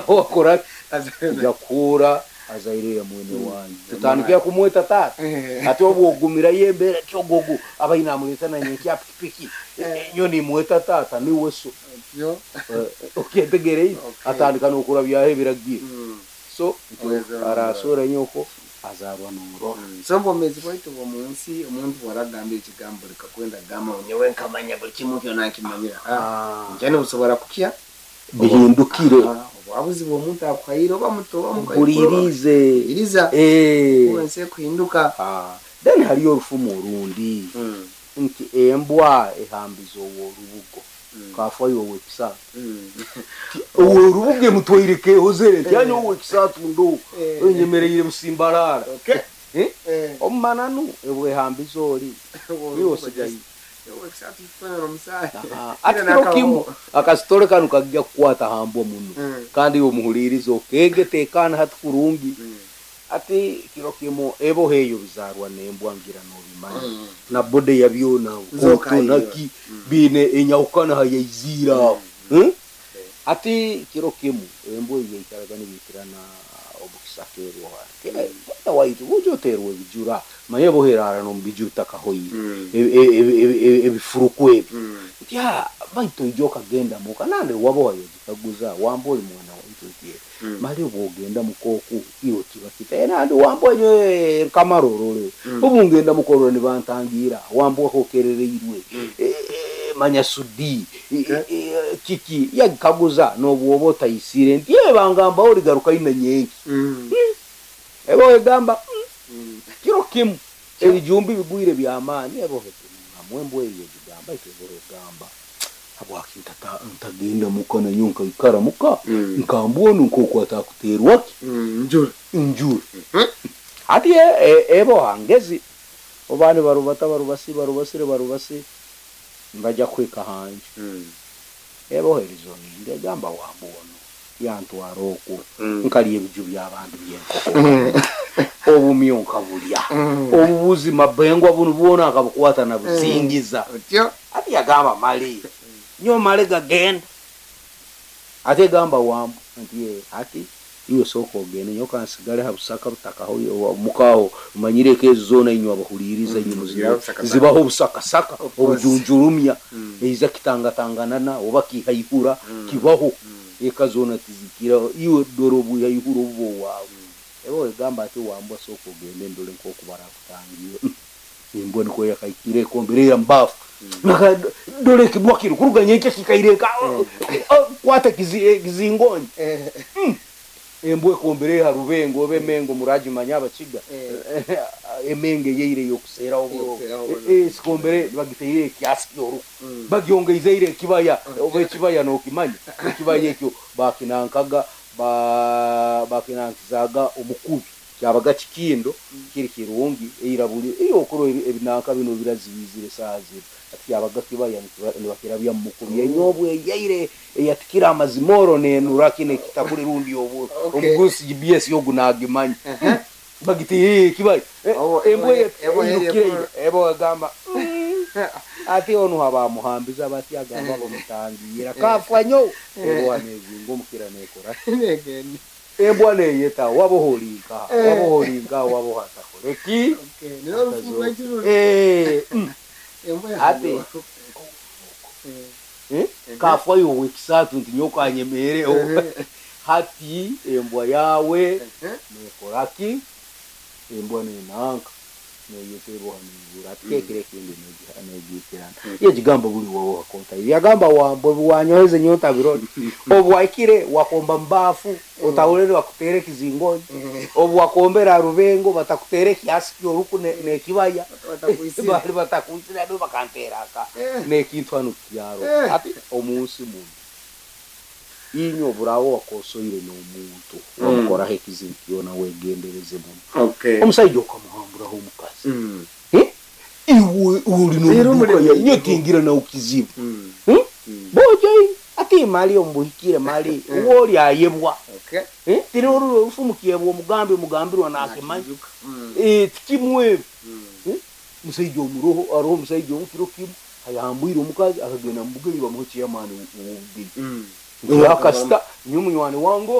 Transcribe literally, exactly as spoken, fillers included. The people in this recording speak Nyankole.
Wakora nja kuhura azaire ya mwene wanyu, tutandike kumweta tata. Ati obwo ogumirayo embeera kyogogo abaine amweta nanye pikipiki nyo nimweta tata, niwe so. Yo. Okyetegereire? Okay. Atandika nokurabyaho ebiragiro. Mm. So Oweza. arasora nyoko azarwa norora. So obwomeezi bwaitu bw'omunsi, omuntu bwaragamba ekigambo likakwenda gamba ngu nyowe nkamanya buli kimu kyona nkimanyira. Nkyani busobora kukya. Bihindukire. Ah, obuhabuzi bw'omuntu akuhaire, oba muto oba mukaikuru, Mpulirize. Mpuliriza. Eh. Kuba ensi ekuhinduka. Ah, then hariyo orufumu orundi nti embwa ehambiza oworubugo kafayo owekisatu. Oworubugo emutwaire kehozere nti anya owekisatu ndo Eh. enyemereire busimbarara. Okay. Eh? Eh. Omumananu ebwehambiza ori iwe osigaye. Owekisatu kifanana omusaayi. Ati kiro kimu akasitore kanu kajja kukwata hambwa muno. Mm. Kandi iwe omuhuliriza okege tekana hati kurungi. Ati kiro kimu eboho eyo bizarwa nembwa ngira nobimanya Mm. na bode yabyona Nzoka iyo. kotonaki bine enyawukana hayaizira aho. Hmm? Ati kiro kimu embwa eyo yaikaraga nibiikirana obukisakerwa mwana waitu bujo oterwa ebijura, manye boherara nomubijura utakahoire. Mm. E- e- e- e- ebifuruku ebi. Mm. Nti "Ah, baitu oija okagenda muka nande waboha yogikaguza wamba oli mwana waitu nti Mm. mali obwogenda mukoku iwe kiba kita nandi wambwa nyowe nkamarorore. Mm. Obu ngenda mukorora nibantangira wambwa hokerereirwe. Mm. Eh, eh, manya sudi eh, Okay. eh, kiki yagikaguza nobwoba otayisire nti ye bangamba oligaruka ina nyenki. Mm. Ebo egamba "Mm, Mm. kiro kimu ebijumbi bigwire byamaani ebohe mwembwa eyo egigamba ito ebohe egamba habwaki ntata- ntagenda muka nanyo nkaikara muka Mm. nkambwonu nkoku atakuterwaki Mm. Njura. Njura. Mhm. Ati e- e- ebo hangezi obani barubata barubasi barubasire barubasi nibajya kwika hanje. Mm. Ebo herizoninga egamba wambwono yantwara oku Mm. nkalya ebiju by'abantu byenkoko, obumyu nkabulya, Mm. obubuzima bengwa bunu bwona akabukwata nabuzingiza. Otyo. Ati yagamba mali nyo male gagenda, ate gamba wambu nti "Ye, ati iwe sooka ogende nyo kansigale ha busaka butakaho mukaho manyireko ezo zoona inywe abahuliriza inywe Mm, muzi- zibaho busakasaka. Zibaho obusakasaka. Of course. Obujunjurumya. Mm. Eiza kitangatanganana oba kihaihura. Mm. Kibaho. Mm. Eka zoona tizikira iwe dore obuhaihura obuba owaawe. Ebo egamba ati wambwa sooka ogende ndole nkoku barakutangira. Embwa niko yakaikire ekombere mbafu. Naka- dore ekibwa kiri kuruga nyenkya kikaireka kwata kizi- kizingonyi. Eh. Embwa ekombere ha rubengo oba emengo muragimanya abakiga. Eh. Emenge yeire yokuseeraho. Yokuseeraho oburo. oburo. Eh, sikombere bagiteire ekyasi kyoruku. Mm. Bagyongeizeire ekibaya oba ekibaya nokimanya ekibaya ekyo bakinankaga ba- bakinankizaga omukubi kyabaga kikindo kiri kirungi eira buli iyo okuro ebinanka bino birazibizire saha zino. Ati kyabaga kibaya nikiba- nibakirabya mu mukubi enyobwa eyaire eyatikira amazimoro nenura kino ekitabuli rundi oburo. Okay. Omugusi G B S yogu nagimanya. Uh-huh. Bagiti ekibaya. Obo- embwa ebo- ebo- eirukire. ebo- Ebo egamba "Mm." Ati onu abamuhambiza bati agamba bamutangira kafa nyo eboha nezinga omukira nekora. Negende. Embwa neyeta waboholinka. Eh. Waboholinka waboha takoreki. Okay. Nino orufumu rw'ekiruru. Eh, mm. Embwa Ati. yahandiwa. Eh. Eh? Kafa yowe ekisatu nti nyokanyemereho. Eh. Hati embwa yawe Eh. nekoraki, embwa nenanka neyeta eboha nebura ati kekire ekindi negiikirana yegigamba buli wowe wakonta yagamba wambwe bwanyoheze nyota birori obwaikire wakomba mbafu otahulere bakutere ekizingonyi. Obu wakombera rubengo batakutere ekyasi kyoruku ne- nekibaya. Batakwitsire. Bali batakwitsire ado bakanteraka Eh. nekintu hano kyaro. Eh. Ati omunsi muno inywe oburawo wakosoire n'omuntu Mm. wamukoraho ekizibu kyona wegendereze muno. Okay. Omusaija okamuhamburaho omukazi. Mm. Eh? Iwe uri Rero nomuduka muri- ya inyo tingira nawe kizibu. Mm. Hmm? Mm. Bojo ati mali omubuhikire mali uwo oli ayebwa. Okay. Eh? Tiri orufumukiyebwa omugambi omugambirwa nakimanya. Nakijuka. Mm. Eh, tikimwebu. Mm. Eh? Musaija omuroho aroho omusaija omukiro kimu ayahambwire omukazi akagenda mubugenyi bamuha chairman w'obugenyi. Mm. Akasita nyo munywani wange.